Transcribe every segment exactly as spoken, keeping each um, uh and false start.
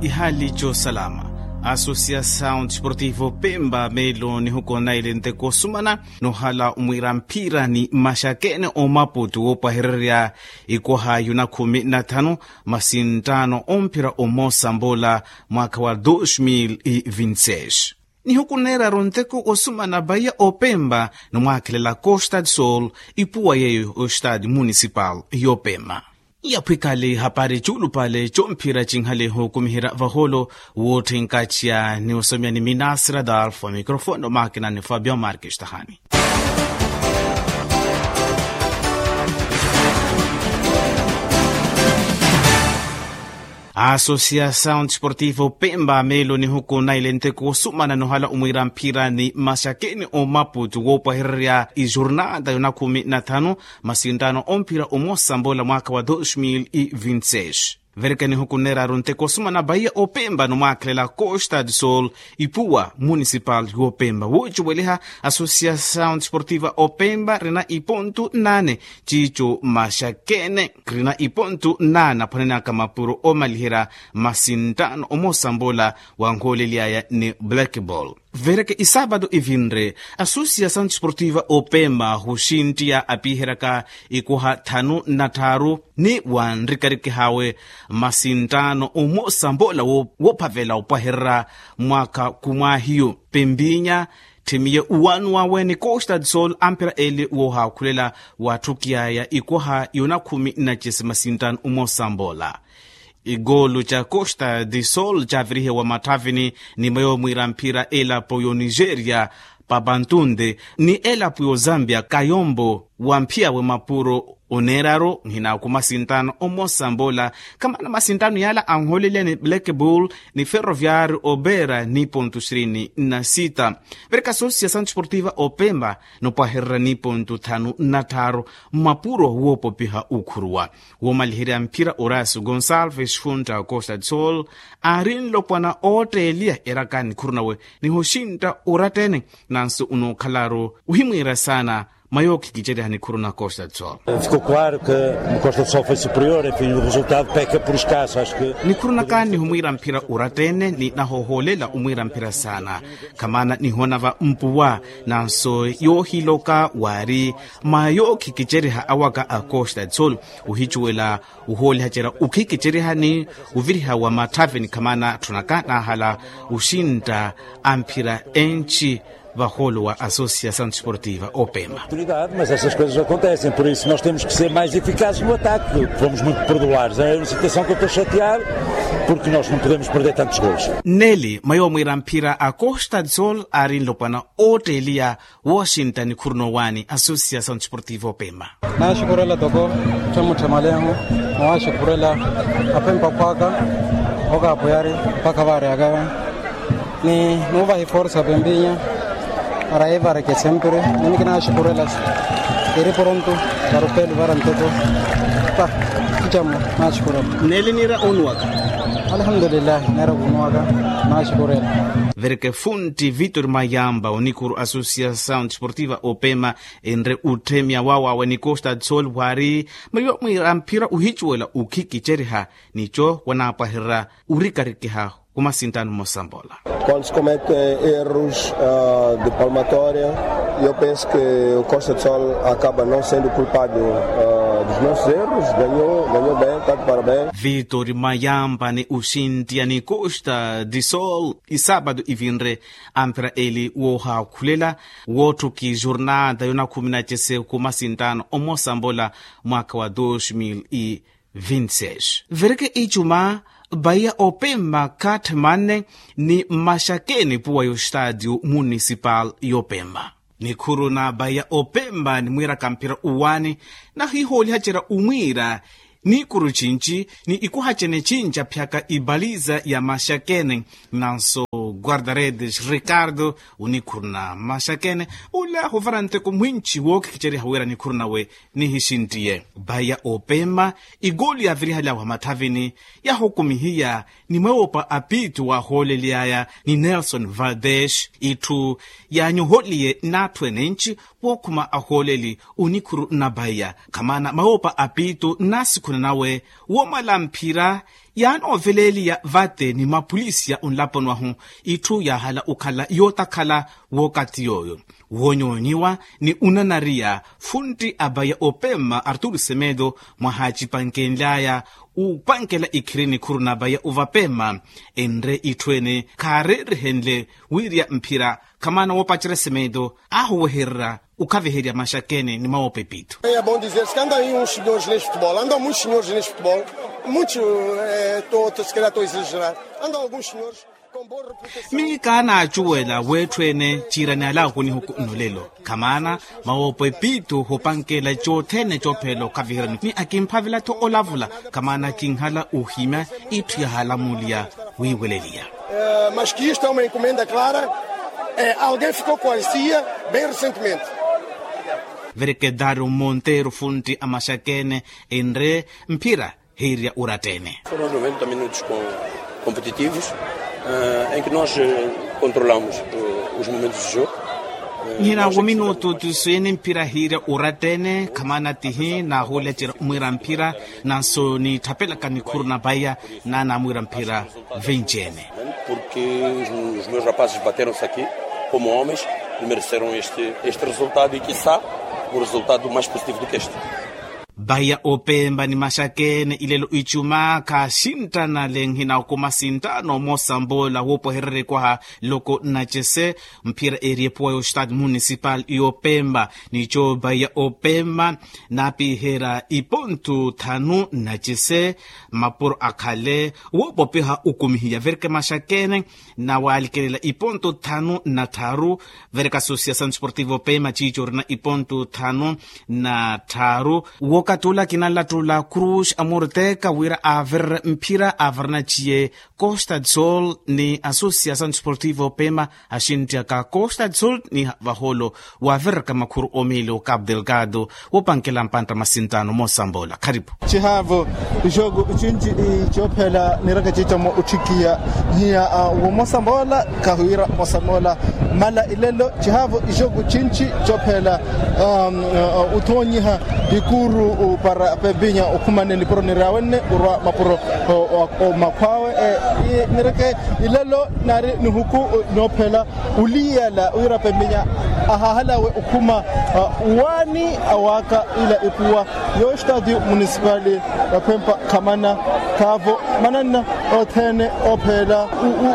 Ihali cosalama. Associação desportivo pemba melo nihuku naile nteko osumana nohala omwiira mphira ni maxakene omaputu woopwahererya ikoha yuna khumi na thanu masinttano omphira omosa mbola mwaka wa dos mil e vinti seis. Nihuku neeraru nteko osumana vaiya opemba ni mwakhelela costa de sol ipuwa yeeyo o estade municipal y'opemba. Yaphwikale hapari cuulupale comphira cinhaleho kumiherya vaholo. Wootthenkaciya ni osomya ni minasira dalfa microfone omaakina ni fabio markes tahani. Associação desportivo pemba melo nihuku naile nteko osumana nohala omwiira mphira ni maxakeni omaputu woopwahererya ijornada yona khumi na thanu masinttano omphira omosa mbola mwaka wa dos mil e vinti seis. Vereke nihuku neeraru nteko osumana vaiya opemba ni mwakhelela costa de sol ipuwa municipal y'opemba woociweliha associação desportiva opemba rina ipontu nane ciico maxakene rina ipontu nane aphwanenaka mapuro omaliherya masinttano omosa mbola wanhoolelyaya ni black ball. Vereke isaapatu ivinre associação desportiva opemba huxinttiya apiheryaka ikoha thanu na tthaaru ni wanrikarikihawe masinttano omosa mbola woophavela opwahererya mwaka kumwahiyu pempinya tthimiye uwanu wawe ni costa de sol amphira eli woohaakhulela watthukiyaya ikoha yona khumi na cisi masinttano omosa mbola. Ikoolu ca costa de sol caavirihiwa matthavini ni mweyo mwiira mphira elapo y'onigeria papantunde ni elapo y'ozambia kayombo wamphiyawe mapuro oneeraru nhina ku masinttano omosa mbola. Khamana masinttano yaala anhooleliya ni black bull ni ferroviario opera ni pontu sirini na sita. Vereka associação desportiva opemba nopwahererya ni pontu thanu na tthaaru mmapuro woopopiha okhuruwa woomaliherya mphira oraso gonsalves funta costa de sol aari nlopwana ootteeliya eraka nikhuru nawe nihoxintta orattene. Nanso onookhalaaru ohimwiira saana mwa yookhikiceriha nikhuru na costa de sol. Ficou claro que o costa de sol foi superior enfim o resultado peca por escasso acho que nikhuru naka nihumwiira mphira orattene ni nahoohoolela omwiira mphira saana. Khamana nihoona va mpuwa nanso yoohiloka waari mwa yookhikiceriha awaka a costa de sol ohicuwela ohoolihacerya okhikicerihani oviriha wa matthaveni khamana tthunaka naahala oxintta amphira enci vahoolo wa associação desportiva opema. Mas essas coisas acontecem por isso nós temos que ser mais eficazes no ataque fomos muito perdulários é uma situação que eu estou chateado porque nós não podemos perder tantos golos. Neli mwa yoomwiira mphira a costa de sol aari nlopwana ootteeliya wooxintta nikhuru noowaani associação desportiva opema. Naaxukurela toko ttamutthemaleho. Nawaaxukurela apempa khwaka okaapuyari mpakha vaareyaka ni nuuvahi forsa pempinya. Para yeevareke sempre nimi kinaaxukurela eri poronto para opelu vara ntoko. Ticamo naaxukurela. Neeli niira onuwaka. Alhamdulillahi neera kunuwaka. Naaxukurela. Vereke funti vitor mayamba onikuru associação desportiva opema enre utthemya wawawe ni costa de sol wari mwiyo mwiira mphira uhicuwela ukhikiceriha nico wanaapwahererya urikarikiha kumasinttano mmosa mbola. Quando se cometem erros de palmatória eu penso que o costa de sol acaba não sendo culpado dos nossos erros ganhou ganhou bem tanto para bem. Vitor mayamba ni uxinttiya ni costa de sol isaapatu ivinre amphira eli woohaakhulela woottuki jornada yona khumi na cese kumasinttano omosa mbola mwaka wa dos mil e vinti seis. Vereke icuma vaiya opema khatthe manne ni mmaxakeni puwa y'ostadio municipal y'opema. Nikhuru na vaiya opema ni mwiiraka mphira uwaani nahihoolihacerya omwiira nikuru cinci ni ikuhacene cinci aphiyaka ibaliza ya maxakene. Nanso guardaredes ricardo onikhuru na maxakene ola huvara nteko mwinci wookhikiceriha wira nikhuru nawe nihixinttiye. Vaiya opema igoli yaavirihaly'awe mathavini yahukumihiya ni mweewopa apiitu waahoolely'aya ni nelson valdes itthu yaanyoholiye n'atthu enenci wookhuma ahooleli onikhuru na vaiya khamana mweewopa apiitu n'asikhuna nawe woomala mphira Yaanooveleeliya vate ni mapulisiya onlaponi wahu itthu yaahala okhala yootakhala. Wookathi yooyo woonyoonyiwa ni onanariya funtti a baya opema arturu semedo mwahaacipankenly'aya opankela ikhiri nikhuru na baya ovapema enre itthu ene khaareerihenle wiirya mphira khamana woopacerya semedo aahuwehererya okhaviherya maxakene ni mawoopa epithu. Anda muitos senhores neste futebol anda muitos senhores neste futebol muitos to se calhar to exagerar anda alguns senhores. Miyo kaanaacuwela w'etthu ene ciirani alaaku nihuku nnolelo khamaana mawoopa epiittu hoopankela cothene coophela okhaviherya ni akimphavela-tho olavula khamaana kinhala ohimya itthu yahaalamuliya. Wiiweleliya. Mas que isto é uma encomenda clara. Alguém ficou com a cia bem recentemente. Verkedario monteiro funtti a maxakene enre mphira hiirya orattene. Foram noventa minutos competitivos em que nós controlamos os momentos de jogo. Nhina wo minutu tuswini mphira hiirya orattene khamana tihi naahulecerya omwiira mphira nanso nitthapelaka nikhuru na baya naana amwiira mphira. Vinci ene. Porque os meus rapazes bateram-se aqui como homens e mereceram este resultado e quissá um resultado mais positivo do que este. Baya opemba ni maxakene ilelo icuma khaxinttana lenhina okuma sinttano moosambola woopohererya ekwaha loko nnacese mphira eri epuwa y'ostati municipal y'opemba. Nico baya opemba naapiherya ipontu thanu nnacese mapuro akhale woopopiha okumihiya verke maxakene. Nawalikelela iponto thanu na tharu. Vereka associação desportivo pema ciico orina iponto thanu na tharu. Wookathi ola kinalattula cruz amorteka wira averere mphira averena ciye costa de sol ni associação desportivo pema. Axintthiyaka costa de sol ni vaholo waaviraka makhuru omiili okapu delgado woopankela mpantta masintano moosambola kharipu. Cihaavo ixooku cinci coophela niraka ciica-mo otthikiya nhiya. Wo moosambola khahiwira moosambola mala ilelo cihaavo ixooku cinci coophela othoonyiha ikuru para pempinya okhumane nipuro niryawenle orwa mapuro omakhw'awe. Nireke ilelo naari nihuku noophela oliyala wira pempinya ahahalawe okhuma waani awaaka ila epuwa y'ostadio municipali. Waphempa khamana khaavo mananna othene oophela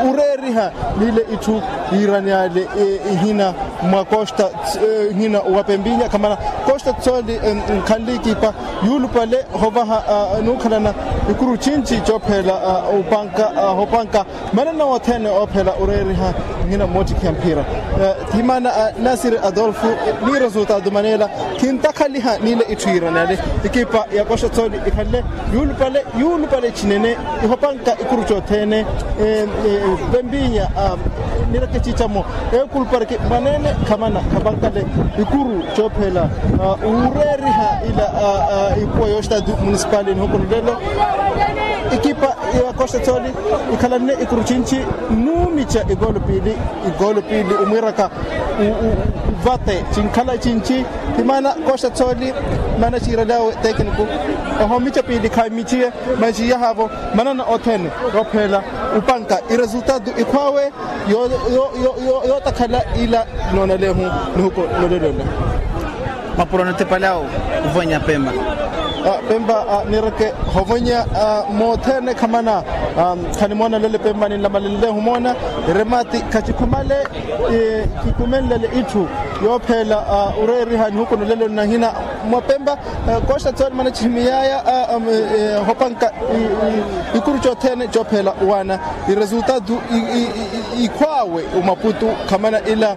oreeriha nile itthu yiirani ale ihina mwa costa ihina wa pempinya khamana costa tsoli nkhanle ekipa yuulupale hovaha nuukhalana ikuru cinci coophela opanka hopanka manana wothene oophela oreeriha nhina mmoottikhiha mphira. Thimana nasiri adolfo ni resultado maneela khintakhaliha nile itthu yiiranale. Ekipa ya koxa tsoli ikhanle yuulupale yuulupale cinene ihopanka ikuru cothene. Pempinya nireke ciica-mo eekulupariki mwanene khamana khapankale ikuru coophela oreeriha ila ipuwa y'ostadio municipal nihuku nlelo. Ekipa ya costa tsoli ikhalanne ikuru cinci nuumica ikoolo piili ikoolo piili omwiiraka vate cinkhala cinci. Thimana costa tsoli mana ciiralyawe tekiniku ohoomica piili khaamiciye. Manciya haavo manana othene yoophela opanka iresultado ikhw'awe yootakhala ila noonalehu nihuku nolelo nla. Mapuro notepalyawo ovonya pemba pemba nireke hovonya mothene khamana. Khanimoona lele pemba ninlamalenle humoona eremati khacikhumale kikhumenlele itthu yoophela oreeriha nihuku nolelo nahina mwa pemba. Kosta tsoli mana cihimiyaya hopanka ikuru cothene coophela owaana iresultado ikhw'awe omaputu khamana ila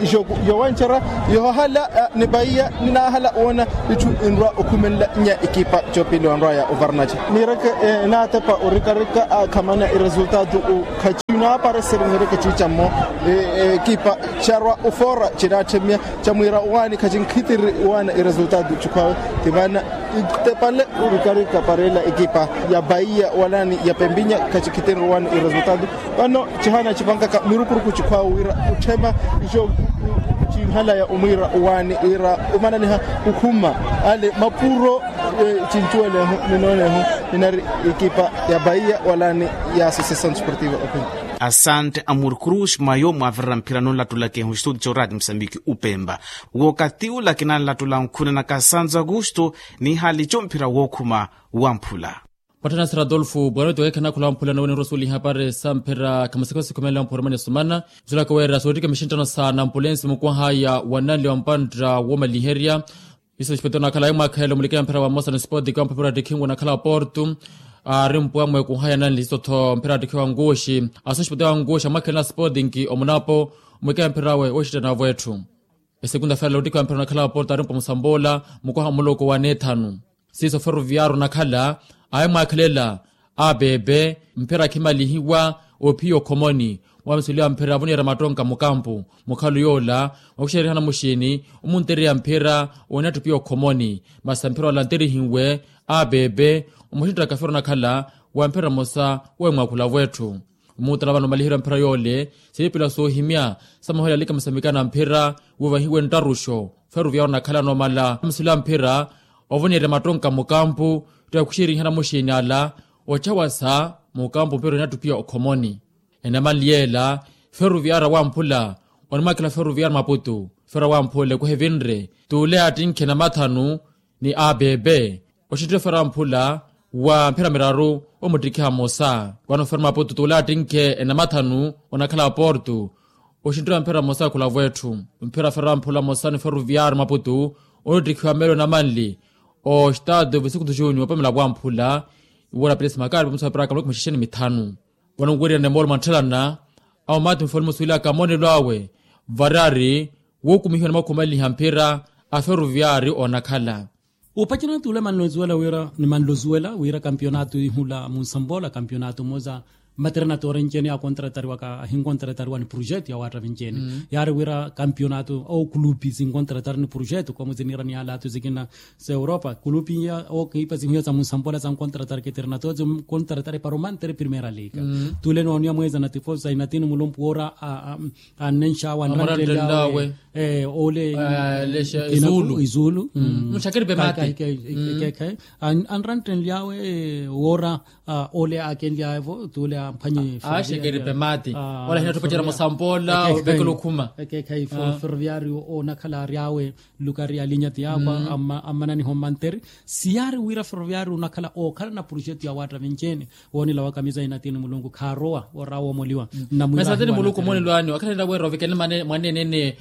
ixooku yowancerya yohahala ni paiya ninaahala oona itthu inrwa okhumenla nya ekipa coopili onrwaya ovarnaci. Nireke naatepa orikarika khamana iresultado khaci naapareseri nireke ciica-mo ekipa carwa ofoora cinaatthemya camwiira owaani khacinkhitiri owaana iresultado cikhw'awe. Ti vana itepale orikarika para ela ekipa ya paiya walaani ya pempinya khacinkhitiri owaani iresultado. Vano cihaana cipankaka mirukuruku cikhw'awe wira otthema ico cinhalaya omwiira owaani wira omananiha okhuma ale mapuro cincuwelehu ninoonehu. Ninari ekipa ya baia wala ni ya associasaw desportiva opemba. Asante amur cruz mayo mwavirira mphira nonlatulaka ehu estudio radio musambiki upemba. Wookathi ula kinanlatula nkhuna na kasanza augusto. Nihaali co mphira wookhuma wamphula. Patthana sira adolfo bwanoto weekhanakhola wamphula nowe nirosuweliha pare samphira khamasiko sikhumelela mphurumani esumana. Nsulaka weera soottika mixinttano sa nampulensi mukwahaya wa nanli wa mpantta woomaliherya. Iso xipeto nakhala ayi mwaakhelelo mulikeya mphira wa mosa ni sport kamphapira tikhingu nakhala porto. Aari mpuwa mweekuhaya nanli iso tho mphira tikhiwa nkuxi. Aso xipeto ya nkuxi amwaakhelana sport nki omunapo. Mulikeya mphira we woxittana avo etthu. Esekunda fela ottikhiwa mphira onakhala porto aari mpuwa musamboola. Mukwaha omuloko wa neethanu siiso ferroviario onakhala ayi mwaakhelela. Apepe mphira akhimalihiwa ophiya okhomoni. Wamisuliwa mphira avoniherya mattonka mukampu. Mukhalo yoola wakuxerihana muxiini omuntereya mphira. Oneettuphiya okhomoni masi mphira ola anterihiwe. Apepe omuxinttaka fero onakhala wa mphira mmosa. Wemwaakhula avo etthu omuutala vano omaliherya mphira yoole. Siipila soohimya sa mahoyela alika musamikana mphira. Wovahiwe nttaruxo ferroviario onakhala anoomala wamisuliwa mphira. Ovoniherya mattonka mukampu tti wakuxerihana muxiini ala. Ocawasa mukampu mphira oneettuphiya okhomoni. Enamanli yeela ferroviario wamphula onimwakhela ferroviario maputu. Ferroviario wamphula ekuhevinre tuule attinkhe namathanu ni apepe. Oxinttire ferroviario wamphula wa mphira miraru omuttikhiha mmosa. Wano ferroviario maputu tuule attinkhe enamathanu onakhala porto. Oxinttire mphira mmosa akhula avo etthu mphira ferroviario wamphula mmosa ni ferroviario maputu. Onittikhiwa meelo namanli oxitaatu vesiku tu junior opamela wamphula. Iwora pires makari pamusa piraka muloko maxixeni mithanu. Vano nkuweriyana emoolo mwantthelana awo maati mufoli musuwelaka amoonelo awe. Variyari wookumihiwa ni mwakhumaliha mphira a ferroviario onakhala. Upacana tuule manlozuwela wira ni manlozuwela wira kampionato ihula munsamboola kampionato mmosa. Maternatoore ncene akontratariwaka ahinkontratariwa ni projeto ya waatta vincene. Yaari wira kampionato ookulupi sinkontratari ni projeto komu ziniira ni alato zikina. Sa europa kulupi iya ookiipa sinhuya sa munsampola sankontratari keterinatozi nkontratari paromantere primera liga. Tuule nooniya mweeza na tifosa inatini mulumpu woora annenxawe anranttenlyawe. Ole izulu izulu. Nxakeripe mati. Ekekhe anranttenlyawe woora. Ole akenlyawe-vo tuule amphwanye axekeripe mati. Ola hinatthu opacera musampola ovekela okhuma. Ekekhe ferroviario onakhala aryawe lukari ya linya ti yakwa. Ammananiho mmantere siyaari wira ferroviario onakhala ookhalana projeto ya waatta vincene. Woonela wa kamisa inatini mulungu khaarowa orawa omoliwa. Nnamwinatini mulungu omoonelo anyu akhalelera wira ovekele mwaneene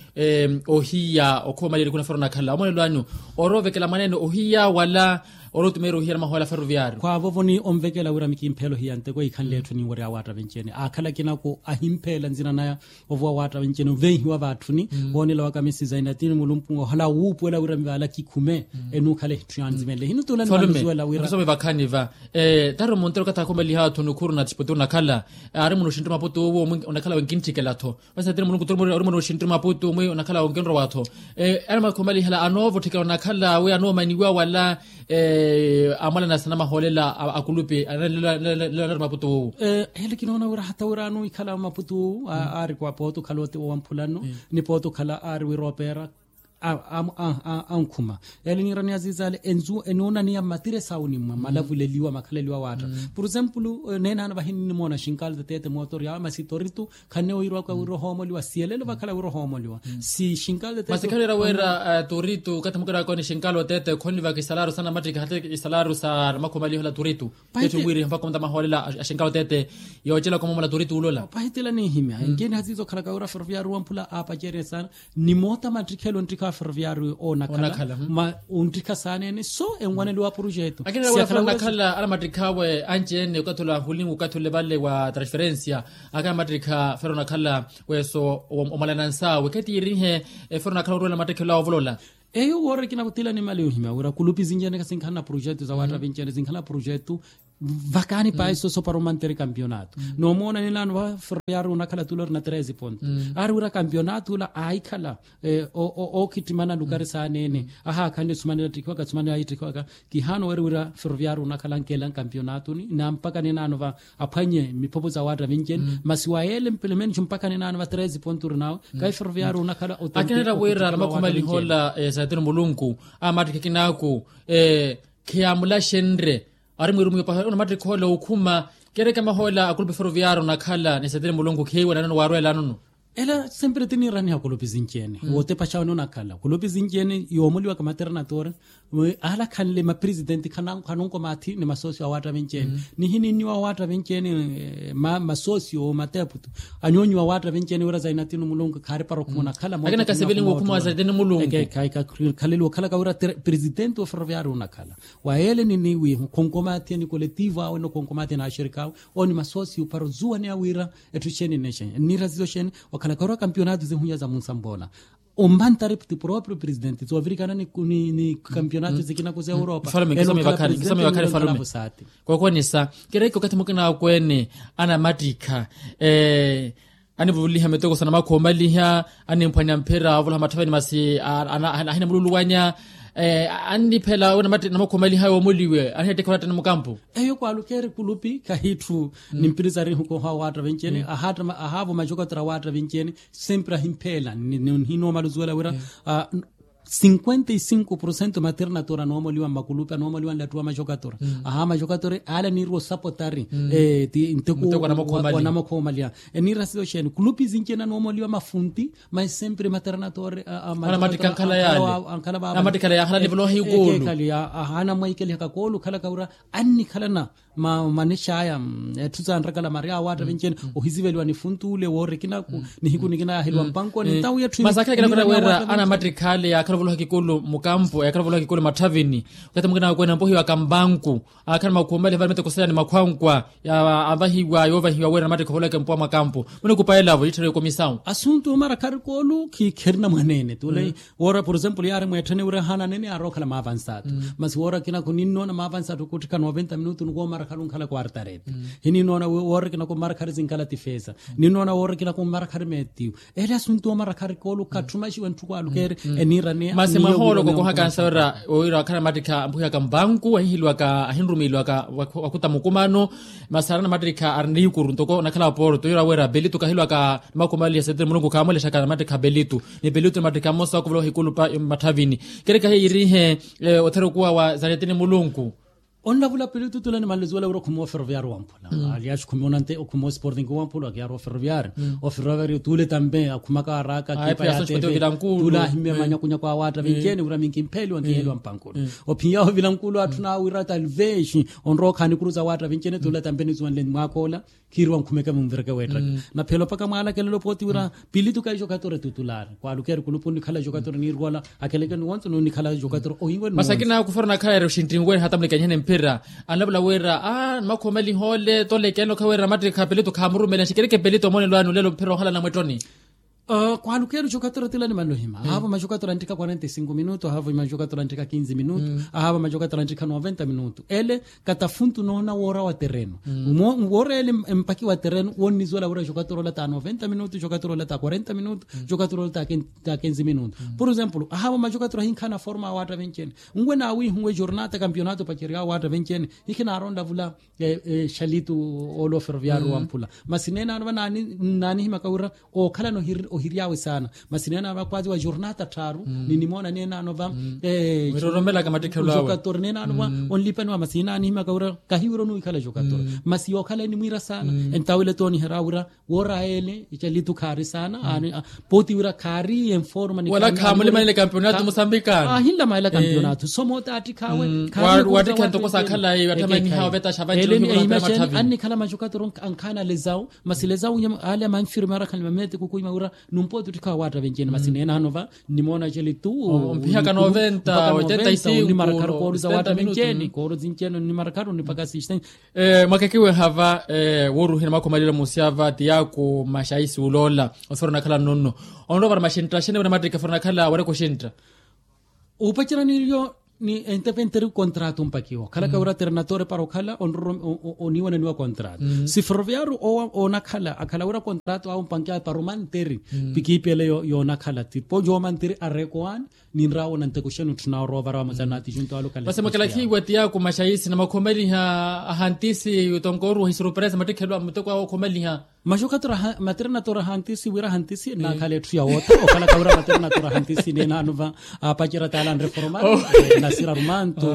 ohiya okhuma maliyelikuna fero onakhala omoonelo anyu. Oroovekela mwaneene ohiya wala orotumeera ohiya na mahoyela ferroviario khwaavovo ni onvekela wira mikimphela ohiya nteko ikhanle etthu ninwerya waatta vincene akhala kinaku ahimpheela nzina naya. Ovuwa waatta vincene ovenhiwa vaatthuni. Woonela wa kamisi zainatini mulumpunga ohala wuupuwela wira mivaala kikhume. Enuukhala etthu yanzimenle hino tuula nimanuzuwela wira. Vakhani va tari omuntero okathi akhumeliha athu nukhuru na tixipoti onakhala. Aari muno oxinttuma aputu owo onakhala wenkintthikel'atho. Masi atiri mulungu turi muri auri mwana oxinttiri mwaputu mwi onakhala onkenrowatho. Ari mwakhumalihala anoovotthikela onakhala wi anoomaniwa wala amwalana sana mahoolela akulupi analelela nari mwaputu wuwu. Ele kinoona wira hata wira anoikhala mwaputu wuwu ari kwa poota okhala oti owamphulano ni poota okhala ari wira opeera ankhuma. Ele niirani aziza ale enzu enoonaniya mmatiresi awo ni mmalavuleliwa makhaleliwa waatta. Por exemplo neenaano vahi ninnimoona xinkalo tatete mootori awe masi toritu. Khanne oirwaka wira ohoomoliwa siyelelo vakhala wira ohoomoliwa. Si xinkalo tatete masi khalera wira toritu okathi mukiraka ni xinkalo tatete khonivaka isalaru sa namattikha hata isalaru sa namakhumaliho la toritu. Tetti wiri mpakha onta mahoolela a xinkalo tatete yoocelaka omomola toritu wulola. Pahitila ninhimya enkeni hasiiza okhalaka wira ferroviario wamphula aapacerye sana. Ni moota mattikhelo onttikha ferroviario onakhala ma onttikha saaneene so enwaneliwa projeto. Akinela wira fero onakhala ala mattikha awe anci-ene okathi ole ahulingu okathi ole vale wa transferencia. Akhala mattikha fero onakhala weso omwalana nsawe khetiirihe. Fero onakhala orwela mattikhelo awe ovolola. Eyo woorikina kutila ni mali yohimya wira kulupi zinci-ene kha sinkhala na projeto za waatta vinci-ene sinkhala na projeto. Vakaani pahi soso para omantere kampionato. Noomoona ninaano va ferroviario onakhala tula ori na treze ponto. Ari wira kampionato ula aahikhala ookhittimana lukari saaneene. Ahaakhanle sumanela ttikhiwaka sumanela ahitthikiwaka. Kihaana oweri wira ferroviario onakhala ankeela nkampionatoni na mpaka ninaano va aphwanye miphopho za waatta vinci-ene masi wa yeele mpelemenici mpaka ninaano va treze ponto ori nawe. Kahi ferroviario onakhala otempi akinela wira namakhumalihola esatini mulunku amattikha kinaaku. Khiyamulaxenrye. ari mwirumiyo paha onamattikha ola okhuma. Keereke amahoola akulupi ferroviario onakhala ni seteni mulunku kheiwe nanoni waarweelanono. Ela sempre tiniiraniha kulupi sinci-ene wootepaxawe noonakhala kulupi sinci-ene yoomoliwaka maternatore. Alakhanle mapresidenti khanonkomaathi ni masosio awaatta vinci-ene nihininniwa awaatta vinci-ene. Masosio mateptu anyoonyiwa awaatta vinci-ene wira zainatino mulunku khaaripara okhuma onakhala. Akina kasevelinwe okhuma wa zainatino mulunku. Khaleliwa okhalaka wira presidenti wa ferroviario onakhala. Wa ele ni niwihu khonkomaathiya ni koletivo awe no khonkomaathiya n'axirikaawe. Owo ni masosiyu para ozuwaneya wira etthu xeeni nexeeni ennirasiso xeeni. Wakhalaka ori wa kampionato zihunya za munsampoola. Ompantari ti proprio presidenti zoovirikana ni kampionato zikina kuza europa. Kookonisa. Kereke okathi mukina akweene anamattikha anivuliha mitoko sa namakhoomaliha animphwanya mphira ovolaha mathaveni masi ahina mululuwanya. Anniphela we namakhoomaliha yoomoliwe anihettekha olatta ni mukampu. Eyo kwaalukeeri kulupi kahitthu. Ni mpirisarihu koha awaatta vinci-ene ahaavo majokatora awaatta vinci-ene. Sempre ahimpheela nihinoomala ozuwela wira cinquenta e cinco porcento maternatora anoomoliwa mmakulupi anoomoliwa nlattuwa majokatora. Aha majokatora ale anirwa osapotari ti nteko wa namakhoomaliha. Eniirasiso xeeni kulupi sinci-ene anoomoliwa mafunti. Mas sempre maternatora amattikha ankhala yaale. Amattikhala yaakhala nivoloha ikulu. Ahaana mwaikeliha kakoolu okhalaka wira annikhalana manexaya etthu sanrakala mari awaatta vinci-ene. Ohisiveliwa ni funtu ule woorikinaku nihiku nikina yaaheliwa mpankoni ntawu yetthu. Masi akhalakela kota wira anamattikha ale yaakhala ovoloha kikulu mukampu yaakhala ovoloha kikulu matthavini. Okathi mukina akweene ampohiwaka mpanku akhala makhumali avale miteko saya ni makhwankwa avahiwa yoovahiwa wira anamattikha ovoloweke mpuwa mwa kampu. Munikupaelavo itthereke komisawu. Asuntu omara kharikoolu khikherina mwaneene tule. Woora por exemplo yaari mweetthene wira ahaana aneene yaarookhala maavansatu. Masi woora akina khuninnoona maavansatu khutthikha noventa minutu nikoomara khali onkhala quartarete. Hininnoona woora akina kommara khali zinkhala tifesa. Ninnoona woora akina kommara khali meetiyu. Ele asuntu omara kharikoolu khatthumaxiwe ntthu kwaalukeeri. Eniiraniya masi mwahoolo kokoha kansa wira owiira wakhala mattikha ampuhiyaka mpanku ahihiliwaka ahinrumiiliwaka. Wakhuta mukumano. Masi arina mattikha arina ikuru ntoko onakhala wa porto yira wira pelitu kahilwaka. Makhumaliha seteni mulunku khaamulexaka namattikha pelitu ni pelitu namattikha mmosa wakuvola ohikulupa mmatthavini. Kereke ahiye yirihe othera okuwa wa zaretini mulunku. Onlavula pelitu tule nimanleziwela wira okhumiwa oferoviario wamphula. Aliyaaxi okhumiwa onante okhumiwa osporting wamphula akiyaarowa oferoviario. Oferoviario tule tampe akhumaka araaka kipa ya tule ahimmye manyakunyaku awaatta vinci-ene wira minkimpheeliwa nkiheliwa mpankulu. Ophiya ovila nkulu atthu naawira talvexi onrowa okhaani kuru za awaatta vinci-ene tule tampe nizuwanle mwaakoola. Khiiriwa nkhumeke munvireke weettaka naphela opaka mwaalakelelo pooti wira pilitu kayi jokatora tutulaari kwaalukeeri kulupu onnikhala jokatora niirwala. Akeleke nuwonso nunikhala jokatora ohinwe nuwonso. Masi akina kufera onakhala eri oxinttinwene hata mulikanyihene mphira. Anlavula wira a nimakhoomeliha ole tolekene okha wira mattikha pilitu khaamurumela nxikereke pilitu omonelo anu lelo mphira ohala namwettoni. Kwaalukeeri jokatora tila nimanlohima ahaavo majokatora anttikha quarenta e cinco minutu ahaavo majokatora anttikha quinze minutu. Ahaavo majokatora anttikha noventa minutu ele katafuntu noona woora wa tereno. Woora ele empaki wa tereno wonnizuwela wira jokatora ola ta noventa minutu jokatora ola ta quarenta minutu. Jokatora ola ta quinze minutu por exemplo ahaavo majokatora ahinkhaana forma awaatta venci-ene. Nwe naawiihuwe jornata kampionato pacerya awaatta venci-ene ikhinaara onlavula. Xalitu ola oferoviario wamphula masi neene ano va naanihimaka wira ookhalana ohiryaawe saana. Masi neene ano va kwazi wa jornata tthaaru ninimoona neene ano va. Jokator neene ano va onlipaniwa masi naanihimaka wira kahi wira onuwikhala jokator. Masi yookhala enimwiira saana entawile tooniherya wira woora ele icalitu khaari saana. Pooti wira khaari enforma ni wala khamulimanile kampionato musambikana ahinlamaela kampionato somoota attikhawe. Wattikha ntoko sakhalayi watthamaniha ovetaxa vanci ohiwula mpira mathavi. Annikhala majokatoro ankhaana lezawu masi lezawu ale amanfirme arakhani mamete kukuima wira numpooti ottikhawa waatta venci-ene masi neene ano va. Nnimoona celitu ompihaka noventa oitenta y cinco onnimarakharu koolu za waatta venci-ene koolu zinci-ene onnimarakharu onnipaka sixten. Mwakekiweha va wooruhina makhomalelo musyava tiyaaku maxaisi uloola. Osifera onakhala nnono onrowa vara maxintta axenevo namattikha fera onakhala wareka oxintta. Upacerya nilyo ni entepenteri kontrato mpakiwa okhalaka wira ternatori para okhala onroroma oniiwananiwa kontrato. Si ferroviario oonakhala akhala wira kontrato awo mpankiwa para omanteri. Pikiipi ele yoonakhala tipo joomanteri arekowaani ninrawo nanteko xenu tthuna orowa ovara vamosa naati junto alo kale. Masi mwakalakhiwa tiyaaku maxaisi na mwakhomaliha ahantisi tonkoruwa hisuruperesa mattikhelo a muteko awo okhomaliha. Majokatura maternatoora hantisi wira hantisi nnakhala etthu yawootha okhalaka wira maternatoora hantisi neenaano va. Apacerya taala anreformar nasira rumantu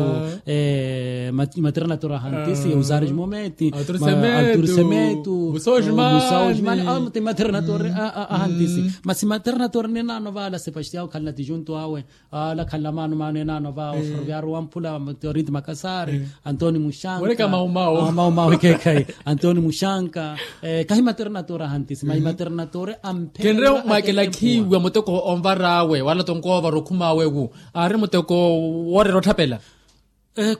maternatoora hantisi eusariji mometi alturisemetu musaujimani. Awo ti maternatoora ahantisi masi maternatoora neenaano va ala sepastiao khalina tijuntu awe. Ala khanla maano maano enaano va ofuruvyaru wamphula teoriti makasari antoni mushanka. Maumau ekekhayi antoni mushanka. Kahi maternatoora hantisi mayi maternatoora amphela. Khenre mwaakela khiiwa muteko onvar'awe wala tonkoovara okhum'awe wu aari muteko woorera otthapela.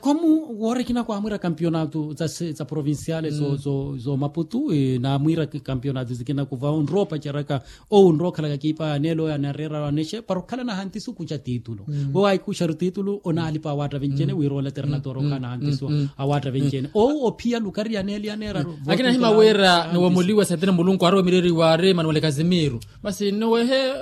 Komu woorikina kwamwiira kampionato za provinciale zo maputu. Namwiira kampionato zikina kuva onrowa opaceraka owu onrowa okhalaka kiipa yaneela oyo anareera anexe para okhala nahantisi okuxa titulu. Wewe ahikuxaru titulu onaalipa awaatta vencene wira ole alternatoora okhala nahantisi awaatta vencene owu ophiya lukari yaneela yaneera. Akina ahima wira niwomoliwa sentene mulunku ari wemireriwa ari manuwele kazimiru. Masi nnowehe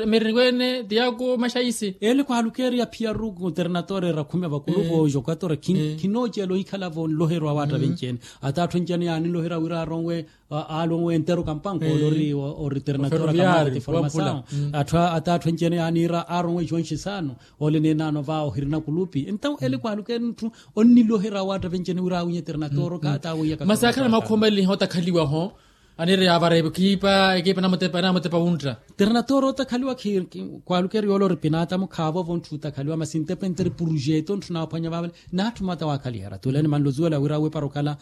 mirini wene tiyaku maxaisi. Ele kwaalukeeriya phiyaru alternatoora erakhume vakuluvo jokatora khinoocela ohikhalavo nloherwa awaatta vencene. Ata atthu encene yaanilohera wira aronwe aalonwe enteru kampanko olori ori alternatoora kamara ti formasawo. Ata atthu encene yaaniira aronwe ijonxisano. Ole neenaano va ohirina kulupi entawo ele kwaalukeeriya ntthu onnilohera awaatta vencene wira awinye alternatoora okaata awiya. Masi akhala makhumaleliha otakhaliwaho. Aniiri yaavara ekiipa ekiipa enamutepa wuntta. Alternatoora otakhaliwa khiri kwaalukeeriya ole ori pinata mukhaavovo ntthu otakhaliwa masi ntepe nteri purujeta ontthu naaphwanya vaavale. N'atthu mata waakhalihera tule nimanle ozuwela wira awe para okhala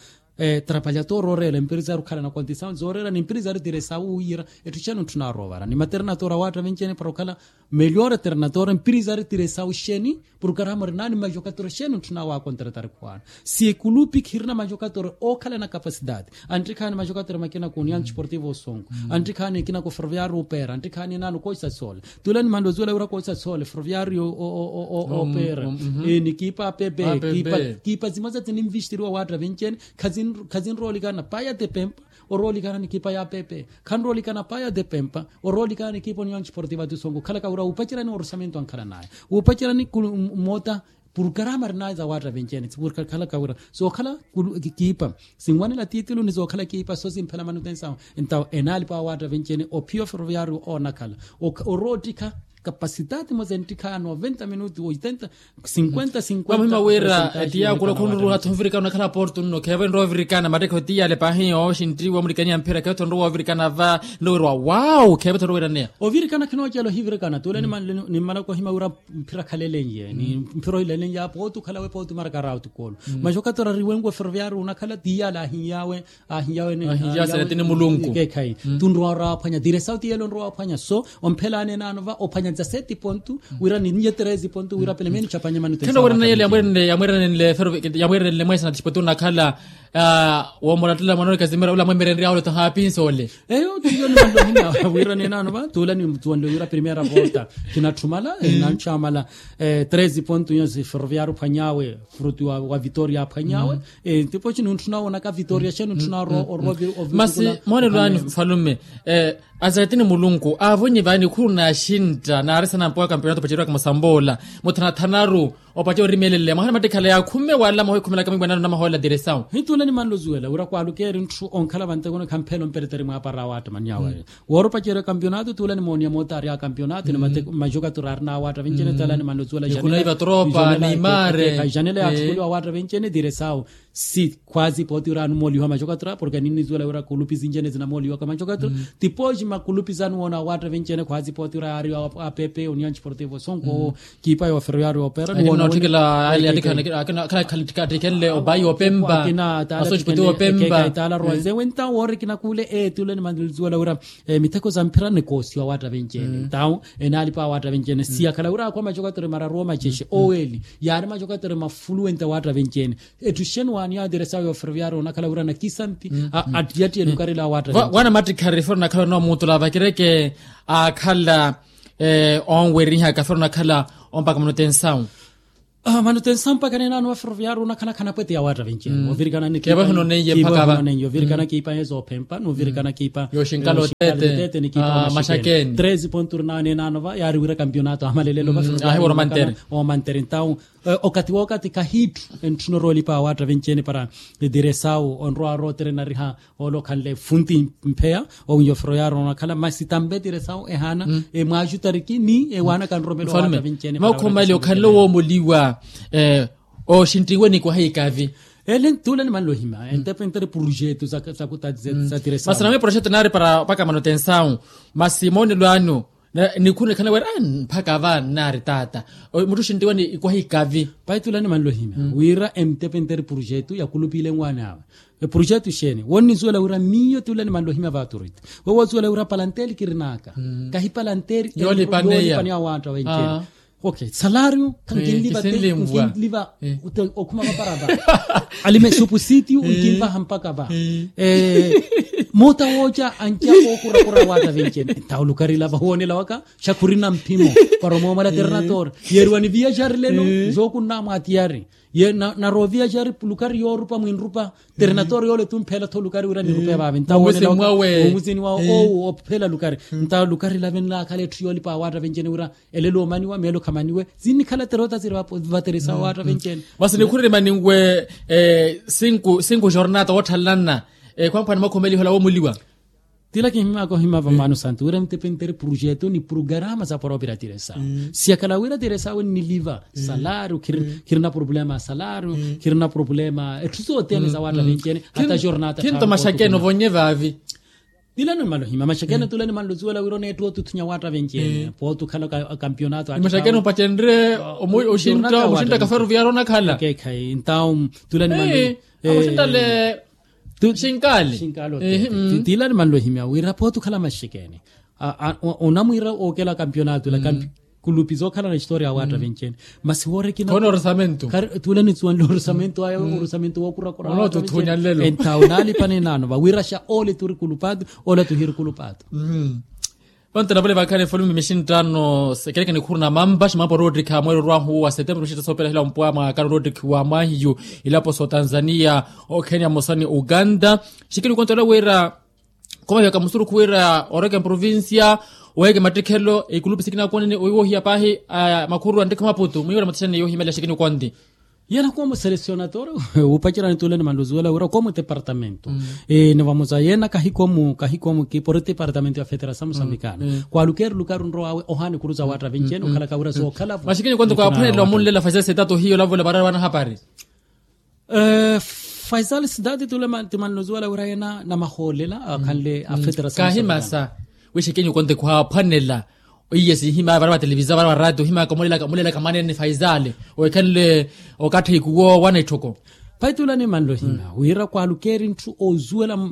trapalyatoora ooreela empirizari okhala na kontisawu zooreela ni mpirizari tiresawu wiira. Etthu xeeni ontthu naaroovara ni maternatoora awaatta vencene para okhala meliora alternatoora empirizari tiresawu xeeni. Purkarama orinaani majokatora xeeni ontthu naawakontratari khuwaana. Si ekulupi khirina majokatora ookhala na kapasidade. Anttikhaani majokatora makina ku union sportivo osonko anttikhaani ekina ku ferroviario opeera anttikhaani enaano koisa sole. Tule nimanle ozuwela wira koisa sole ferroviario opeera. Ni kiipa ya pepe kiipa zimoza tininvistiriwa awaatta vencene. Khazinroolikana paya tepempa oroolikana ni kiipa ya pepe khanroolikana paya tepempa oroolikana ni kiipa onion sportiva ti sonko okhalaka wira wuupacerani orusamento ankhalanaya wuupacerani. Mmota purkarama arinaye za waatta vencene purkakhalaka wira sookhala kiipa sinwanela titulu ni sookhala kiipa so simphela manutensawo. Entawo enaalipa awaatta vencene ophiya oferoviario oonakhala oroottikha kapasitati mosa enttikha ya noventa minutu oitenta. Sinkwenta sinkwenta. Mamuhima wira etiya kulo khunurula tho ovirikana onakhala portu nno kheevo enrowa ovirikana mattekho etiyale paahi yooxinttiwa omulikaniya mphira kheevo tho nrowa ovirikana va nno wira wa wawu kheevo tho nrowa wiraneya. Ovirikana khinoocela ohivirikana tule nimmalaka ohima wira mphira khalelenye ni mphira ohilelenye apo otukhala we pootu maraka rautu kolo. Maxokatera riwenku oferoviario onakhala tiyale ahinyawe. Ahiyawe ni ahiyawe ni mulungu. Kekhayi tunrowa oraphwanya diresawu tiyele onrowa ophwanya so omphelaani enaano va ophwanya dza seti pontu wira ni nye treze pontu wira pelemeni chapanya manu tesa. Kheno wira neyele yamwiranenle yamwiranenle mwesa na tishipotu onakhala. Womolattela mwana ori kasimira ula mwemerenrya ole tohapinsa ole. Eyo tiyo ni manlohina wira nenaano va tula ni mtuwanle wira primera volta. Kinatthumala nanchwamala treze pontu nyonsi ferroviario phwanyawe. Frutu wa vitoria aphwanyawe. Tipoci nuntthuna wonaka vitoria xeeni untthuna orovi. Masi moone lwaani mfalume. Azaretini mulunku aavonyi vaani khuru naaxintta naarisana mpowa kampeonato opaceriwaka musamboola muthanathanaru. Opace orimelele mwahana mattikhala yaakhumme wala mwahoikhumelaka mwibwanano na maholela diresawu. Hitula nimanluzuwela wira kwaalukeeri ntthu onkhala vantekuni khamphela ompereteri mwaapara awaatta manyawe. Woora opacerya kampionato tuula nimooniya mootari a kampionato ni majokatura arinaawatta vincene tala nimanle osuwela janela. Janela yaatthukuliwa awatta vincene diresawo. Si khwaasi pooti wira anumooliwa majokatura porke ninnizuwela wira kulupi zincene zinamooliwaka majokatura. Tipoji makulupi sanuwoona awatta vincene khwaasi pooti wira yaariwa apepe union sportivo sonko. Kiipa yooferoyaari oopera niwoona khalikhalikhenle obayi opempa. Asoxipoti opempa. Taala roise wenta woorikina kuule eeti ule nimanle osuwela wira. Miteko sa mphira nikoosiwa awatta vincene tawo enaalipa awatta vincene siyakhala wira akhwa macokatere mararu omacexe oweeli. Yaari macokatere mafuluwente awatta vincene. Ettuxeni waani yaatiresa yooferoviyaari onakhala wira nakisanti. Attiyatti enukarela awatta vincene. Wana mattikhari fero nakhala onoomuutula vakireke aakhala onwerihaka fero nakhala ompaka munotensawu. Manutensawu mpakha ninaano wa ferroviario onakhala khanapwete ya waatta venci ene ovirikana nikipa. Ovirikana kiipa yooxinkalotete nikipa maxakeni. Treze ponto ri naano enaano va yaari wira kampionato amalelelo va ferroviario. Omantere ntawu okati w'okati khahiitthu entthuna oroolipa awaatta venci ene para diresawu onrowa arootere nariha. Ole okhanle funti mpheya owinyo ferroviario onakhala masi tampe diresawu ehaana. Mwaaxutariki ni ewaanaka nromelo awaatta venci ene. Maukhomaile okhanle woomoliwa. Oxinttiwe ni kwaha ikavi. Ele ntuula nimanle ohima entepentere projeto za kuta za diresawu. Masi namwe projeto naari para mpakha manutensawu. Masi moonelo anyu nikhuna ekhala wira mpakha va nnaari taata. Mutthu oxinttiwe ni ikwaha ikavi. Pahi tuula nimanle ohima wira emtepenteri projeto yakulupiile nwaani awe. Eprojeto exeeni wonnizuwela wira miyo tuula nimanle ohima va autorite. Wewo ozuwela wira palanteli kirin'aka kahi palanteli yoolipaneya awaatta wenci ene. Ok, salario khankinliva te nkinliva okhuma vaparapa. Alime supusitiyu nkinvaha mpakha va. Moota wooca anca ookurakura awaatta venci ene ntawo lukari lava huwonela waka. Xa khurina mphimo para omoomala ternator. Yeeriwa ni viaxari leno. Zookunnamwa atiyari ye naroviaxari lukari yoorupa mwinrupa. Ternator yoole tu mphela tho lukari wira nirupe vaave ntawo woonela waka. Omuzini wawe owu ophela lukari ntawo lukari lave nlaakhala etthu yoolipa awaatta venci ene wira elelo omaniwa meelo khamaniwe. Zinnikhala terota ziri vateresa awaatta venci ene. Masi nikhurerima ninwe sinku jornata wootthalanana. Khwamphwana mwakhomelihola woomoliwa. Tila kinhimaka ohima vamaano santu wira mtepenteri projeto ni programa za poropira tiresawe. Siyakhala wira tiresawe nniliva salario khirina problema ya salario. Khirina problema etthu sothene za waatta venci ene hata jornata khinto maxakeno vonye vaavi. Tila nimanle ohima maxakeno tula nimanle ozuwela wira oneetta otuthunya waatta venci ene pooti okhala kampionato. Maxakeno opacenre oxintta kaferuviaro onakhala. Ntawo tula nimanle. Akoxinttale. Xinkaali. Tila nimanle ohimya wira pooti okhala maxekeni. Onamwiira ookela kampionato ila kulupi zookhalana historia awaatta venci ene. Masi woorekina khona orisamento. Tula nisuwanle orisamento aya orisamento wookurakura. Entawo naalipa ninaano vawira xa ole turi kulupato. Ole tuhiri kulupato. Vantu navale vakhala efulume mixinttano sekeleke nikhuru na mampa ximampa orootikha mweerorwahu wa setembro mixintta soopela hila ompwa mwaakano orootikhiwa mwahiyu ilapo so tanzania, okenya mosani uganda. Xikini kontola wira komahiwaka musurukhu wira oreke mprovincia oweke mattikhelo ikulupi sikinakonene oiwohiya paahi. Makhuru antikha maputu mwiwela matixani yohimela xikini konti. Yena komu selecionator wupacerani tule ni manluzuwela wira komu tepartamento. Ni vamoza yena kahi komu kahi komu kipori tepartamento ya federasamu sambikana kwalukeri lukari nrowawe ohaani kuru za watta vinci ene okhalaka wira sookhala vo. Maxikini konto kwaphwanela omunlela faisal sitato hiyo lavola varari wanahapari. Faisal sitato tule ti manluzuwela wira yena namahoolela akhanle a federasamu kahimasa. Wixekenyu konte khwaaphwanela oiye sihimaya vara va televisa vara va ratio ohimaka omulelaka mwanene faisale owekhanle okathi kuwo wana etthoko. Paitula ni manlo hina wira kwalukeri ntthu ozuwela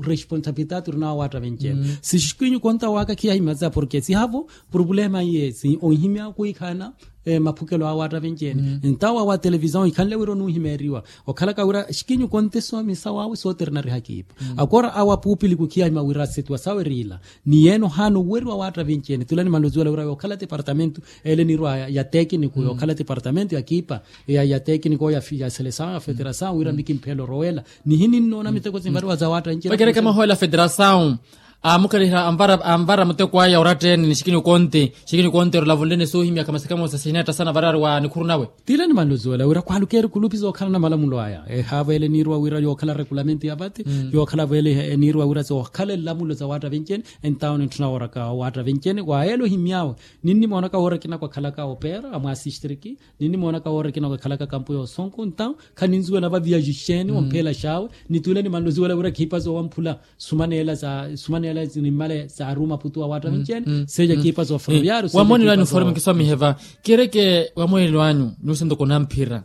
responsabilidade orinawo watta vencene sixikhinyu konta waka khiyahimasa porke sihavo problema iye si onhimya kwikhana maphukelo awo watta vencene ntawa wa televisao ikhanle wira onuhimeriwa okhalaka wira xikinyu konte somisa wawe soterina rihakipa. Akora awo apupili kukhiyahima wira setiwa sawe riila ni yeno haana oweriwa watta vencene tula ni manlo zuwela wira yookhala tepartamento ele nirwa ya tekiniku yookhala tepartamento ya kipa ya tekiniku ya selesawo ya federasawo wira mikimphela orowela. Nihi ninnoona miteko sinvariwa za watta vencene vakereke mahoela federasawo. Amukhaliha anvara muteko aya oratteni ni xikinyu konte xikinyu konte olavonlene soohimyaka masekamosa sihinetta sana varari wa nikhuru nawe. Tile ni manlo zuwela wira kwalukeri kulupi zookhalana malamulo aya ehaavo ele niirwa wira yookhala regulamento ya vati yookhala vo ele niirwa wira zookhala elamulo za watta vencene. Entawo nintthuna wooraka watta vencene wa ele ohimyawe ninnimoonaka woora ekina kwakhalaka opera amwaasistriki ninnimoonaka woora ekina kwakhalaka kampu yoosonko ntawo khaninzuwela vaviyaxixeni omphela xawe. Nitule ni manlo zuwela wira khiipa zoowamphula sumaneela za sumaneela nimmale zaari omaputu wa watta vencene seeja khiipa zooferoviario wamonelo anyu forme kiswamihe va. Kereke wamonelo anyu nyuusi ntoko namphira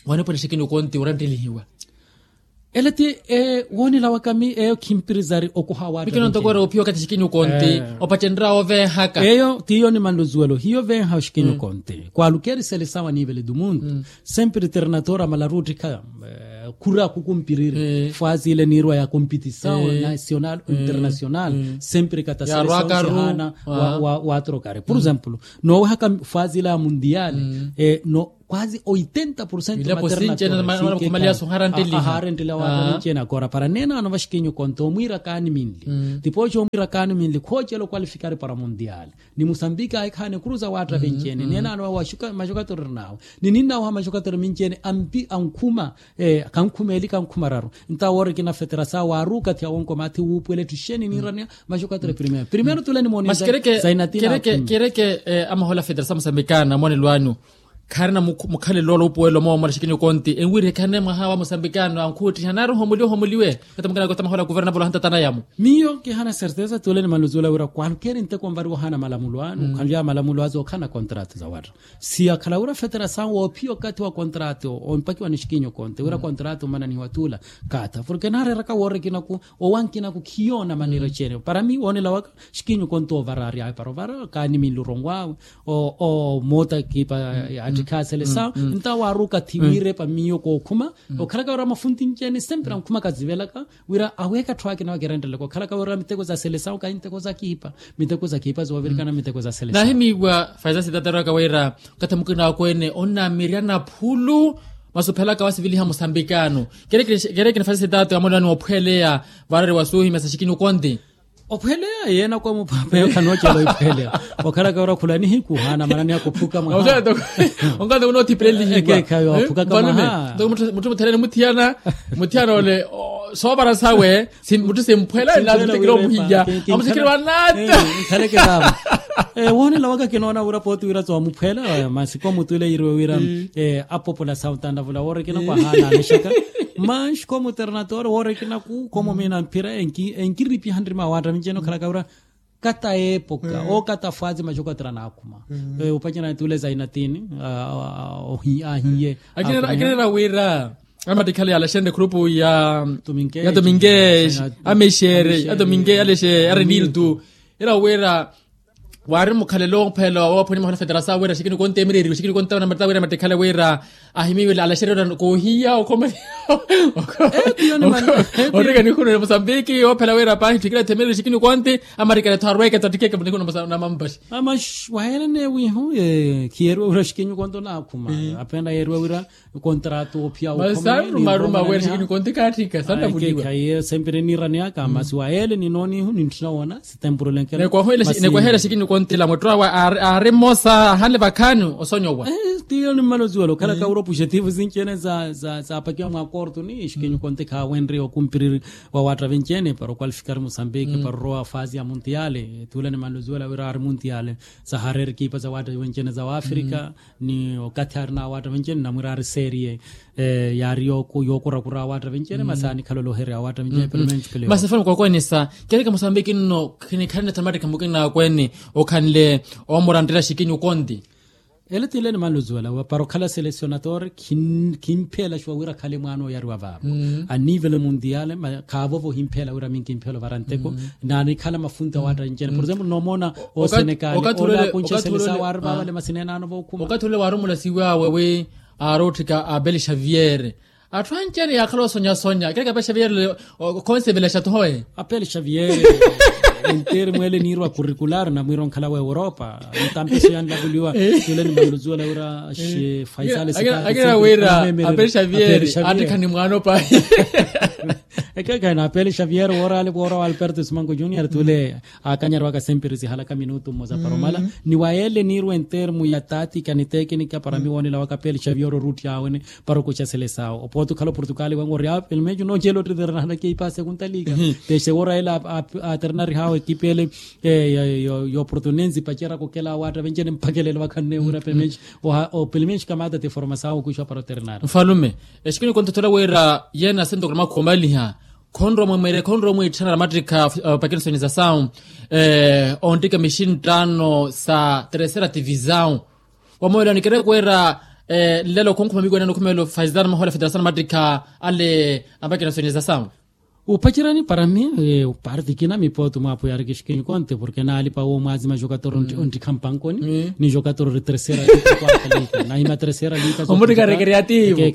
wanipwene xikinyu konti oranttelihiwa. Ele ti woonela waka mi eyo khimpirizari okoha watta vencene mikino ntoko era ophiya okathi xikinyu konti opacenrya ovenhaka eyo tiyo ni manlo zuwelo hiyo venha oxikinyu konti kwalukeri selesawo anivele du mundo. Sempre ternatora malaru ottikha khura kukumpiriri fwazi ile niirwa ya competisawo national international sempre kata selesawo sihana. Watrokari por exemplo noowehaka fwazi ile ya mundial no Kwazi oitenta porcento materna ahaarenteliha waatta ninci-ene akoora para neenaano vaxikinyu konto omwiira kaani minli. Tipooxa omwiira kaani minli khoocela okwalifikari para muntiyaali. Ni musambiki ahikhaana ekuru za waatta vinci-ene neenaano maxokatero erinaawe. Ni ninnawaha maxokatero minci-ene ampi ankhuma kankhuma eli kankhuma raru. Ntawo woorikina feterasao waaruka thi awonkoma thi wuupuwela etthu xeni niiraneya. Maxokatero primero primero tule nimooniza. Zainatina. Kereke amahola feterasao musambikana moonelo anyu khaarina mukhalelo ola upuwelo moomola xikinyu konti enwirihekihane mwaha wa musambikano ankhuuttiha nari ohomuliwe ohomuliwe. Kata mukina kota mahola kuvernapolo hantatana yamo. Miyo kihana certeza tule nimaluzuwela wira kwalukeri nteko nvariwa ohana malamulo anu khanlya malamulo azo okhana kontrato za watta. Si akhala wira feterasao woophiya okathi wa kontrato ompakiwa ni xikinyu konti wira kontrato omananihiwa tula. Kata porke naareeraka woorikinaku owankinaku khiyoona manira eceene para mi woonela waka. Xikinyu konti ovara ari awe para ovara kaani minli oronwawe. Omoota kipa attikha a selesawo ntawo waaruka thiwiire pa miyo kookhuma. Okhalaka wira mafunti nci-ene sempre ankhuma kazivelaka wira aweeka atthu akina wakirentelaka okhalaka wira miteko za selesawo kahi miteko za kipa. Miteko za kipa zoovirikana miteko za selesawo. Nahimiiwa faisa sitataraka wira okathi mukina akweene onnamirya naphulu. Masi ophelaka wasiviliha musambikano kerekina faisa sitato amolani ophweleya. Varari wasuuhimya sa xikinyu konti. Ophweleya yeena kwa muphapeyo khanoocela oiphweleya. Okhalaka wira khula nihiku hana manani akuphuka mwaha. Onkathi wunoothipirelihiwa. Ekeekhayo aphukaka mwaha. Mutthu mutherene muthiyana muthiyana ole soovara sawe. Mutthu simphwela nlamusikile omuhiya. Amusikile wanata. Nkhaleke vava. Woonela waka kinoona wira pooti wira tsi wamuphwela masi komutule yiriwe wira apopola sautanavula woorikina kwahaana alexaka. Manxi komuternatore woorikina ku komumina mphira enkiripiha nrima waatta minci-ene okhalaka wira kata epoka okata fwazi maxokatera naakhuma. Opacana tule zainatini ahiye. Akinera wira amattikhale yalaxenre khurupu ya tuminkesh amexere ya tuminkesh alexe areniltu. Ira wira waari mukhalelo omphelo woophwani mwaha na feterasao wira xikini konte emireriwe xikini konte onamata wira amattikhale wira ahimiwile alaxererya koohiya okhoma. Orika nihunule musambiki oophela wira paahi tthikile themereri xikini konte amarikale tho arweke tho attikeke nihunule namampaxi. Amaxi waheelene wihu khiyeriwe wira xikinyu konto naakhuma. Apena yeeriwe wira kontrato ophiya okhoma sanrumaruma wira xikinyu konte kaatthika santavuliwa. Khaiye sempre niiraneyaka masi waheele ninoonihu nintthina woona sitempuro lenkela. Nekwahoyela xikinyu konte la mwetto awe aari mmosa ahanle vakhaani osonyowa. Tiyo nimmala oziwela okhalaka wira opujetivu sinci-ene zaapakiwa mwa korto ni xikinyu konte khaawenrye okumpiriri wa waatta vinci-ene para okwalifikari musambiki para orowa fazi ya muntiyale. Tula nimmala oziwela wira aari muntiyale sahareera ekipa za waatta vinci-ene za waafrika. Ni okathi aari na awaatta vinci-ene namwira aari serie yaari yookurakura awaatta vinci-ene masi aanikhalola ohereya awaatta vinci-ene. Masi efano kwakwenisa kereke musambiki nno khinikhalene thamattikha mukina akweene okhanle omuranttela xikinyu konti. Ele tile nimanluzuwela para okhala selesionator. Khimphelaxiwa wira khale mwaana oyariwa vaava anivele mundiale. Khaavovo ohimphela wira minkimphela ovara nteko. Naanikhala mafunti awaatta vinci-ene por exemplo nomoona osenekali ole akunxe selesawo aari vaavale masi neenaano vookhuma. Okathi ule waarumula siwaawe wi aarootthika abel xavier. Atthu anci-ene yaakhala osonya-sonya kereke apel xavier. Khonsevelaxa thoye apel xavier. Entermu ele niirwa curricular namwiira onkhala wa europa. Ntampiso yanlavuliwa tule nimanluzuwela wira xi faisale sikaakira wira apel xavier attikhani mwaano pahi. Ekekhayi na apel xavier wooraale woora wa alberto simango junior tule. Aakanyariwaka sempre sihalaka minutu mmosa para omala ni wa ele niirwa entermu ya tatika ni tekinika para miwoonela waka apel xavier orutti aawene. Para okuxa selesawo opooti okhala oportugal wengo ori awo pelo meeco noocela otteterena halaka eipase kuntalika. Pexe wora ele aternarihawo ekipa ele yooportunensi paceraka okela awaatta venci-ene mpakha elelo vakhanne wira pelo meeco. Pelo meeco kamata ti formasawo okuxiwa para oternari. Nfalume exikini kontotola wira yeena sentokolo makhumalihya khonrowa mwemwere khonrowa mwiitthana namattikha. Pakinisoni za sawu onttika mixinttaano sa terceira tivisawu. Wamoolani kereke wira nlelo khunkhuma mikwene nukhumelelo faisitana mahola federasawu namattikha ale ampakinasoni za sawu. Upacerani para mi parti kina mi pooti mwaapo yaari kixkinyu konte porke naalipa wo mwaazima jokator onttikha mpankoni ni jokator ori teresera lika quarta lika nahima teresera lika. Omuttikha recreativo.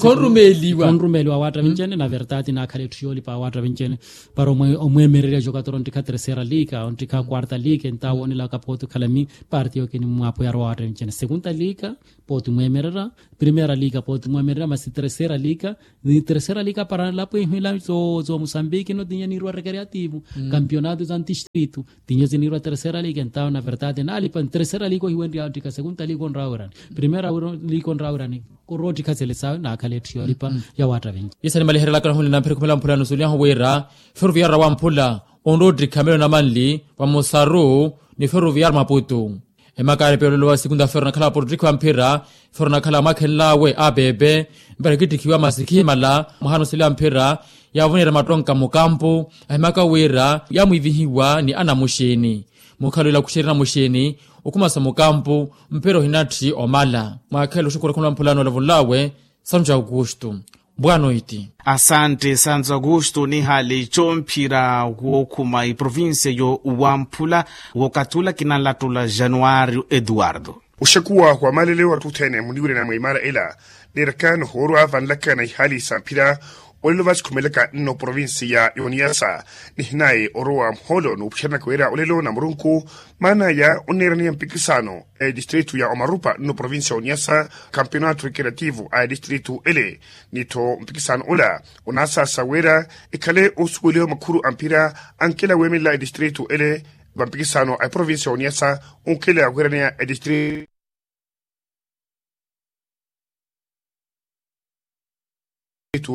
Khonrumeeliwa. Khonrumeeliwa waatta vincene na vertati naakhala etthu yoolipa waatta vincene para omweemererya jokator onttikha teresera lika onttikha quarta lika entawo onilaka pooti okhala mi parti yookini mwaapo yaari waatta vincene sekunta lika pooti mweemererya primera lika pooti mweemererya masi teresera lika ni teresera lika para nlapo ihwila zozo musambiki no tinye niirwa recreativo kampionato za ntistritu tinye ziniirwa teresera lika entawo na vertati naalipa nteresera lika ohiwenrya ottika sekunta lika onrawirani primera lika onrawirani koroottikha sele sawe naakhala etthu yoolipa ya waatta vinci. Isa nimaliherelaka nahunle namphira ekhumela mphula nusuliyahu wira feroviyaru ra wamphula onroottikha melo namanli vamosaru ni feroviyaru maputu. Emaka yaari pelo lowa sikunta fero nakhala porottikhiwa mphira fero nakhala mwakhenlawe apepe mpira kittikhiwa masi khimala mwaha nusuliya mphira yaavonera mattonka mukampu ahimaka wira yamwiivihiwa ni anamuxini mukhalwela khuxerya namuxini okhumasa mukampu mpira ohinatthi omala mwakhela oxukhura khumula mphulano olavonlawe santo augusto. Boa noite. Asante santo augusto nihali comphira wookhuma iprovincia yo wamphula wookathi ula kinanlattula januario eduardo. Oxekuwa wa malele wa ttuthene muniwirena mwa imala ela neeraka nohoorwa vanlaka na ihali samphira olelo vasikhumelaka nno provincia ya oniasa nihinaye orowa muhoolo nuupuxeranaka wira olelo na murunku maana ya onneeraniya mpikisano etistritu ya omarupa nno provincia ya oniasa kampionato recreativo a etistritu ele nittho mpikisano ola onaasaasa wira ekhale osuweliwa makhuru a mphira ankela weemelela etistritu ele vampikisano a eprovincia ya oniasa onkela wiraneya etistritu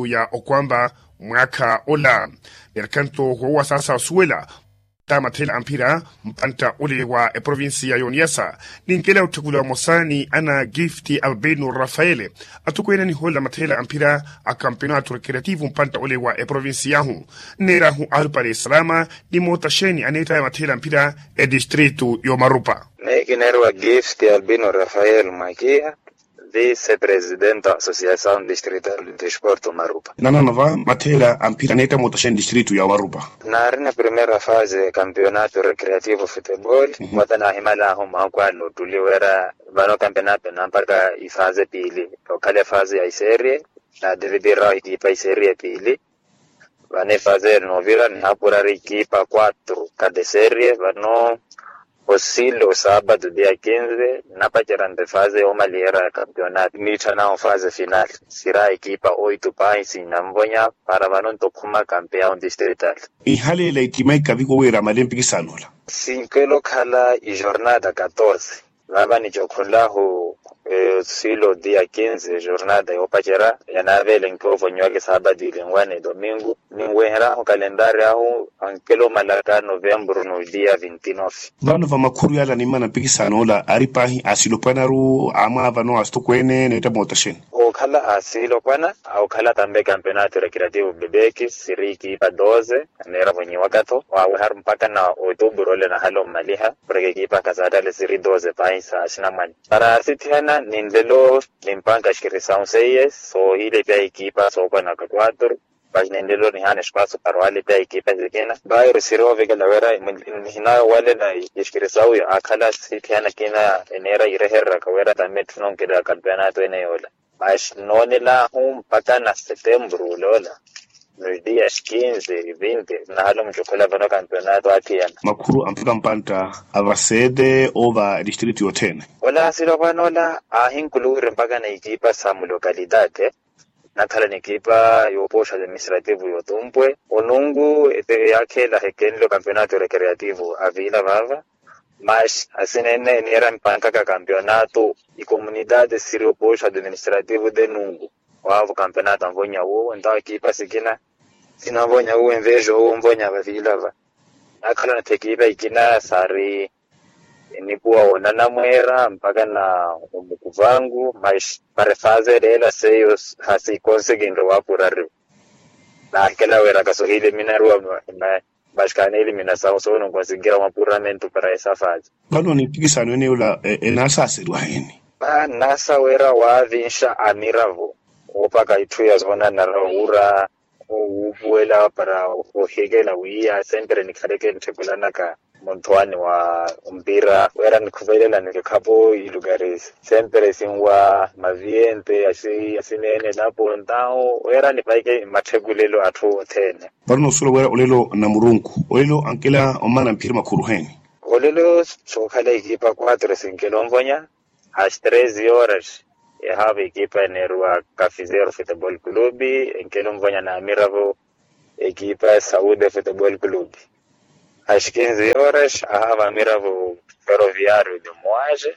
ya okwamba mwaakha ola. Neeraka nto woowa saasa osuwela ta mathela a mphira mpantta ole wa eprovincia ya oniasa ninkela otthekula omosa ni ana gift albino rafael atokweene anihoolela mathela a mphira a kampionato recreativo mpantta ole wa eprovincia yahu nneerahu alupale salama ni mootaxeni aneettaya mathela a mphira etistritu y'omarupa. Meekineeriwa gift albino rafael mwakiha vice presidente associação distrital de desporto marupa. Nanano va mathela a mphira aneetta mootaxeni distritu ya omarupa. Naarina primera fase kampionato recreativo futebol vata naahimalahu mwaakwaani ottuli wira vano kampionato nampaka ifase piili okhala efase ya iserie naadivitirahu ekipa iserie piili. Vano efase eri noovira nihaapurari ekipa quatro cada serie vano osilo saabatu dia quinze nnapacerya nto efase yoomalihera ya kampionato niitthanahu fase final sira ekipa oito pahi sinanvonya para vano nto khuma kampeyahu distrital. Ihaleela ettima ikaviko wira amale mpikisano ola. Sinkela okhala ijornada catorze vava nicokhonlahu osilo dia quinze jornada yoopacerya yanaavelenkiwa ovonyiwaka esaabatu ilinwana edomingo ninweherahu kalentari ahu ankela omalaka novembro no dia vinti nove. Vano va makhuru yala animana mpikisano ola ari pahi asilopwanaru amwaavano asitokweene neetta mootaxeni. Okhala asilopwana okhala tambe kampionato recreativo bebeki siri ekipa doze neera vonyiwaka-tho waaweharu mpakha na otuburu ole nahala omaliha poreke ekipa khasaatale siri doze pahi sa xinamwane para asithiyana ninlelo nimpanka xikirisau seiye soohilepya ekipa sookwanaka quatro. Paxi ninlelo nihaana espaso para owalepya ekipa sikina bairo siri oovekela wira nihinawalela exikirisau akhala asithiyana kina eneera yirehereraka wira tame etthu nonkela kampionato ene yoola. Mas noonelahu mpakha na setembro oloola nos dias quinze e vinte nahala omucokhola vano kampionato athiyana. Makhuru a mpaka mpantta a vasete oova distritu yothene. Ola asilopwana ola aahinkuluwiri mpakha na ekipa sa mulocalidade nakhala ni ekipa yoopooxa administrativo yotumpwe onunku yaakheela hekenle o kampionato recreativo a vila vava. Mas asina ene eniira mpankaka kampionato ikomunidade siri opooxa administrativo de nunku waavo kampionato anvonya wuwo entawo ekipa sikina sinanvonya wuwo envejo wuwo onvonya vavila va. Nakhala natthi ekipa ikina saari enikuwa woonana mweera mpaka na omukuvanku mas para efase ereela seiyo hasikonsekinre waapurariwa. Naakela wira kasohile minaruwa mas kaneeli minasawu soononkonsinkira mwapuramento para esa fase. Vano nimpikisano ene yola enaasaseriwa heni? Naasa wira waavinxa amiravo oopaka itthu ya soonanara owura Wuupuwela para ohikela wiiya sempre nikhaleke ntthekulanaka munthuwani wa mpira wira nikhuvelela nikikhapo ilukari sempre sinwa maviyente yasineene napo ntawo wira nipaike matthekulelo atthu othene. Vano nosuwela wira olelo namurunku olelo ankela omana mphira makhuru heni? Olelo sookhala ekipa quatro sinkela onvonya. As treze horas ehaava ekipa eneeruwa kafizero futebol clube enkela onvonya na amiravo ekipa saude futebol clube. As quinze horas ahaava amiravo ferroviario de moage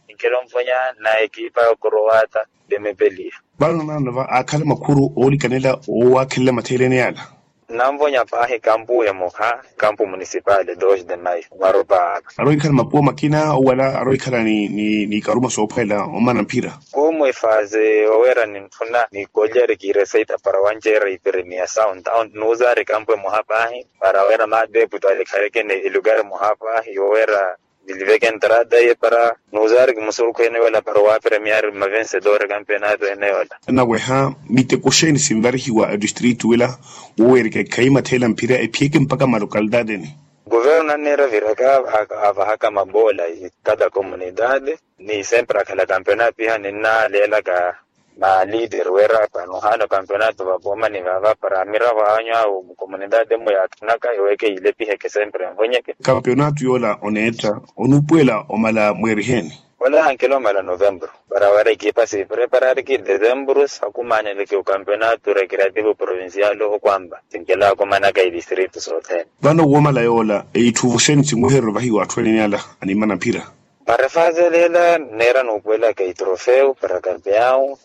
enkela onvonya na ekipa croata de mepelia. Vano nanova aakhala makhuru oolikanela oowakhelela matheeleni yala. Nanvonya paahi kampu emoha kampu municipal dos de mayo maropa. Aroikhala mapuwa makina owala aroikhala ni karuma soophwela omana mphira. Komu efaze owera ninthuna nikolyari kireseita para wanceera ipremiasaw ntawo nuuzari kampu emoha paahi para wera madeputo alikhaleke ni elukari moha paahi yowera niliveke entrada iye para nuuzari kimusurukhu ene yola para owapremiari mmavensedori kampenato ene yola. Naweha miteko xeeni sinvarihiwa adistritu ela woweereke khayi matheela mphira ephiyeke mpakha mmalokalitati ene? Kuvernu nanneera viraka avahaka mabola ikada komunitati ni sempre akhala kampenato iha ninnaleelaka malider wira pano hano kampenato vapomani vava para amiravo anyu awo mukomunitati mmo yaatthunaka yoweeke yilepiheke sempre envonyeke. Kampeonato yoola oneetta onuupuwela omala mweeriheni? Ola ankela omala novembro para wira ekipa siipreparariki desembro sakumaneleke okampeonato recreativo provincial okwamba sinkela akumanaka edistritu sothene. Vano woomala yoola eitthuvuxeni sinwehereryo vahiwa atthu ene ala animana mphira? Para efaaze ela neera nuupuwelaka itrofeu para kampeao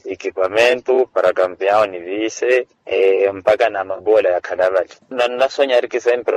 ekipamentu para kampeao ni viise mpakha na mabola yakhala vale. Nannasonyariki sempre.